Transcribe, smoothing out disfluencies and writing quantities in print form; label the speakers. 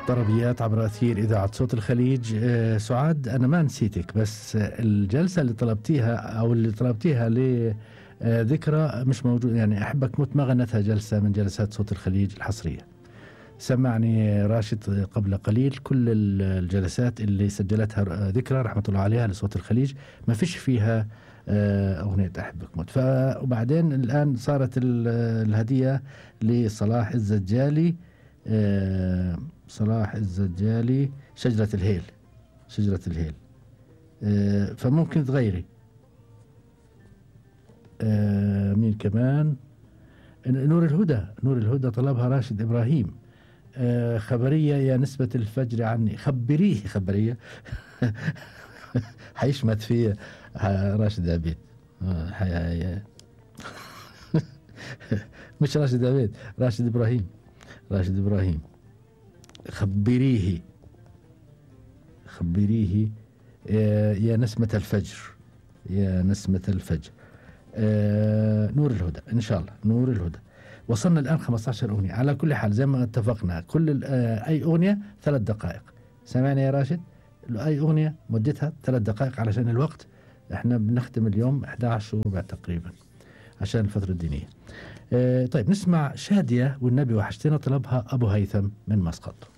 Speaker 1: طربيات عبر أثير إذاعة صوت الخليج. سعاد، أنا ما نسيتك، بس الجلسة اللي طلبتيها أو اللي طلبتيها لذكرى مش موجود، يعني أحبك موت ما غنتها جلسة من جلسات صوت الخليج الحصرية. سمعني راشد قبل قليل كل الجلسات اللي سجلتها ذكرى رحمة الله عليها لصوت الخليج ما فيش فيها أغنية أحبك موت. وبعدين الآن صارت الهدية لصلاح الزجالي، صلاح الزجالي شجرة الهيل، شجرة الهيل. فممكن تغيري. مين كمان؟ نور الهدى، نور الهدى طلبها راشد إبراهيم. خبرية يا نسبة الفجر عني، خبريه خبرية. حيشمت فيه راشد عبيد. مش راشد عبيد، راشد إبراهيم، راشد إبراهيم. خبريه، خبريه يا نسمة الفجر، يا نسمة الفجر. نور الهدى إن شاء الله، نور الهدى. وصلنا الآن 15 أغنية. على كل حال زي ما اتفقنا كل أي أغنية 3 دقائق. سمعنا يا راشد؟ أي أغنية مدتها 3 دقائق علشان الوقت. احنا بنختم اليوم 11:15 تقريبا عشان الفترة الدينية. طيب نسمع شادية والنبي وحشتنا، طلبها أبو هيثم من مسقط.